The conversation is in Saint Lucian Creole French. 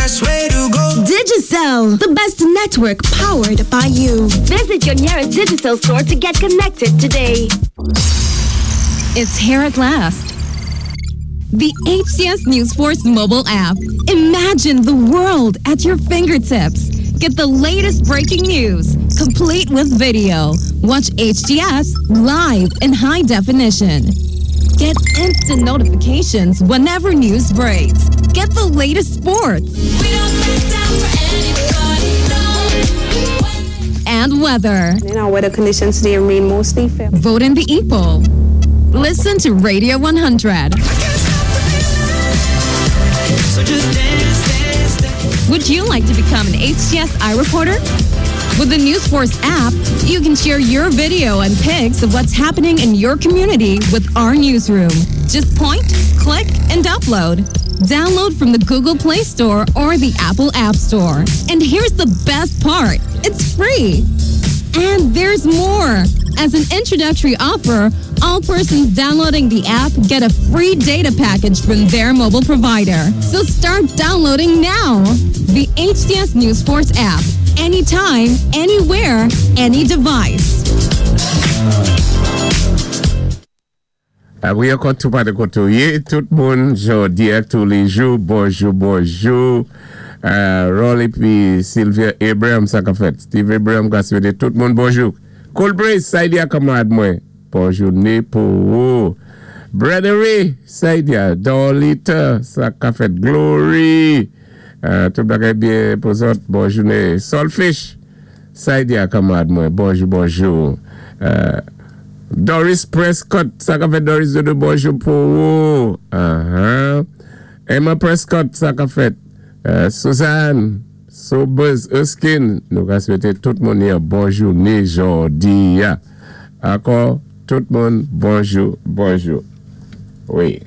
best way to go. Digicel, the best network powered by you. Visit your nearest Digicel store to get connected today. It's here at last. The HTS News Force mobile app. Imagine the world at your fingertips. Get the latest breaking news, complete with video. Watch HTS live in high definition. Get instant notifications whenever news breaks. Get the latest sports. And weather. In our weather conditions today remain mostly fair. Vote in the e-poll. Listen to Radio 100. So just dance, dance, dance. Would you like to become an HTS iReporter? With the NewsForce app, you can share your video and pics of what's happening in your community with our newsroom. Just point, click, and upload. Download from the Google Play Store or the Apple App Store. And here's the best part it's free. And there's more. As an introductory offer, all persons downloading the app get a free data package from their mobile provider. So start downloading now. The HTS News Force app. Anytime, anywhere, any device. Wi, ankò tou pa de koté ou yé, tout moun, jòdi a touléjou, bonjou, bonjou. Rolly pi Sylvia Abraham, sa ka fèt. Steve Abraham ka swété tout moun bonjou. Cool Breeze, Saidia kanmarad mwen, bon jouné pou ou. Brettery, Saidia, Dorlita, sa ka fèt. Glory, tout bagay byen pou zòt, bon jouné. Solfish, Saidia kanmarad mwen, bonjou, bonjou. Doris Prescott, sa ka fèt Doris Dodo, bonjou pou ou. Emma Prescott, sa ka fèt. Suzanne, Sobers Erskine, nou ka swété tout moun yon bon jouné jòdi a. Ankò, tout moun bonjou, bonjou. Wi.